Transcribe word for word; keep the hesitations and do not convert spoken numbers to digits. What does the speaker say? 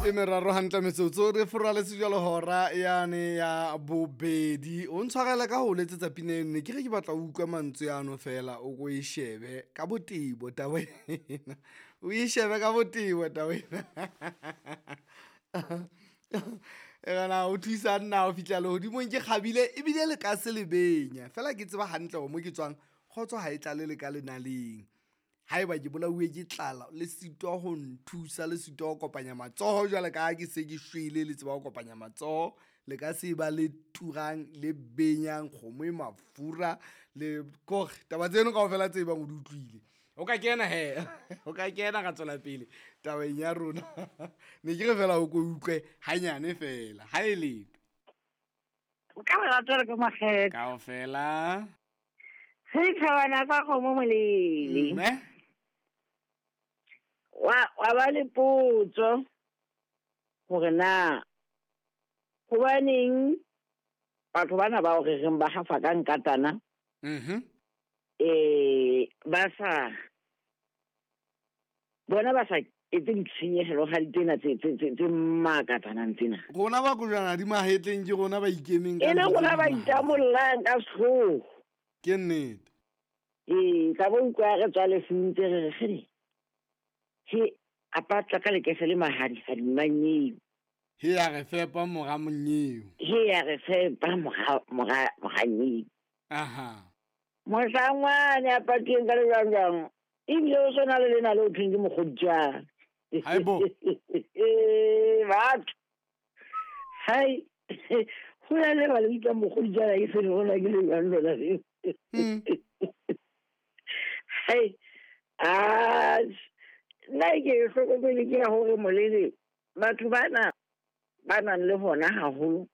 E meraro hantle metsotso re foraletse jalo hora yane ya bobedi. O ntshwarele ka ho letsetsa pina eno, ne ke re ke batla ho utlwa mantswe ano fela o ko e shebe ka botebo taba ena. O e shebe ka botebo taba ena. E rena o thusa nna ho fihla lehodimong ke kgabile ebile le ka se le benya. Feela ke tseba hantle hore mo ke tswang kgotso ha e tlale le ka lenaleng. Haeba ke bolauwe ke tlala le sitwa ho nthusa, le sitwa ho kopanya matsoho jwalo ka ha ke se ke shwele, le tseba ho kopanya matsoho. Le ka se ba le turang, le benyang kgomo e mafura le kore taba tseno kaofela tse bang o di utlwile. O ka kena hee, o ka kena ra tswela pele tabeng ya rona. Ne ke re fela o ko utlwe hanyane fela, ha e letho. Ka lerato le ka makgethe. Kaofela. Setjhabana sa kgomo molele. Mme. Wa, wa ba le potso hore na hobaneng batho bana bao re reng ba hafa ka nkatana, Mhm. eh, ba sa bona ba sa etse ditshenyehelo ga tsena tse, tse, tse, tse makatsanang tsena. Rona ba kojwana di mahetleng ke rona ba ikemeng ka E le ntho tse rona ba di itamollang ka sehlooho. Ke nnete. Ee, ka bo utlwa re tswa lefung tse re re kgele. He, a patla ka lekese le mahadi a dimanyeo. He ya re fepa mora monyeo. He ya re fepa mora, mora, mora nyeo. Aha. Mohlang wane a patileng ka lejwangjwang, ebile o sona le lena le ho thweng ke mokgoditswane. Haibo. Batho. Hai. Ho na le ba le bitsang mokgoditswane, ke se le rona ke lejwang lona leo. Hmm. Hai. Ah, nna ke e hlokomele ke ya hore molele, batho bana ba nang le hona haholo,